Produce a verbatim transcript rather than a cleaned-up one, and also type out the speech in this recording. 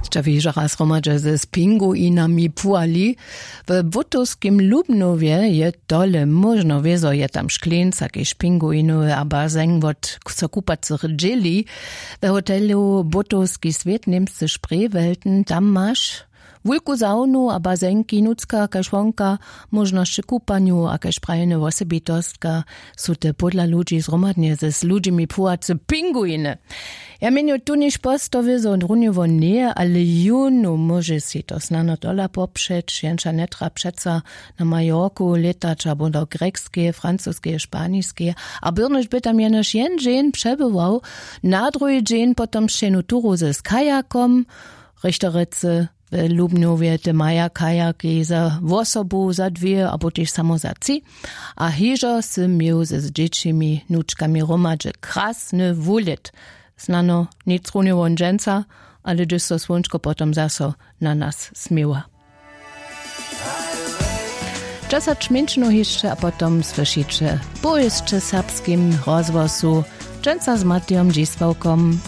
Ća wěžora zhromadźe ze spinguinami puhali. W butowskim lubnowje je tole móžno wězo je tam škleńca kež pinguinowy a bazeng wot so kupacych dźěli. We hotelu butowski swět němscy sprejwelten tam maš wulku zawnu a bazenki nutřka kaž wonka. Móžnosće kupanju a kaž prajene wosebitostka su te pódla ludźi zhromadnje z ludźimi płuwace pinguiny. Ja měnju tu něž postowy zo runje won njeje ale jónu móže sej to snano tola popřeć jenča njetra přeco na majorku lětać abo do grjekskeje francuskeje španiskeje. A byrnyž by tam jenož jen dźeń přebywał na druhi dźeń potom sćenu turu z kajakom. Richterecy w lubnjowje te maja kajaki za wosobu za dwě abo tež samo za tři. A hižo sy měł z dźěćimi nučkami hromadźe krasny wulět. Snano nic runje won dźensa ale hdyž so słónčko potom zaso na nas směła. Dźesać mjeńšinow hišće a potom słyšiće powěsće w serbskim rozhłosu. Dźensa z matijom dźisławkom.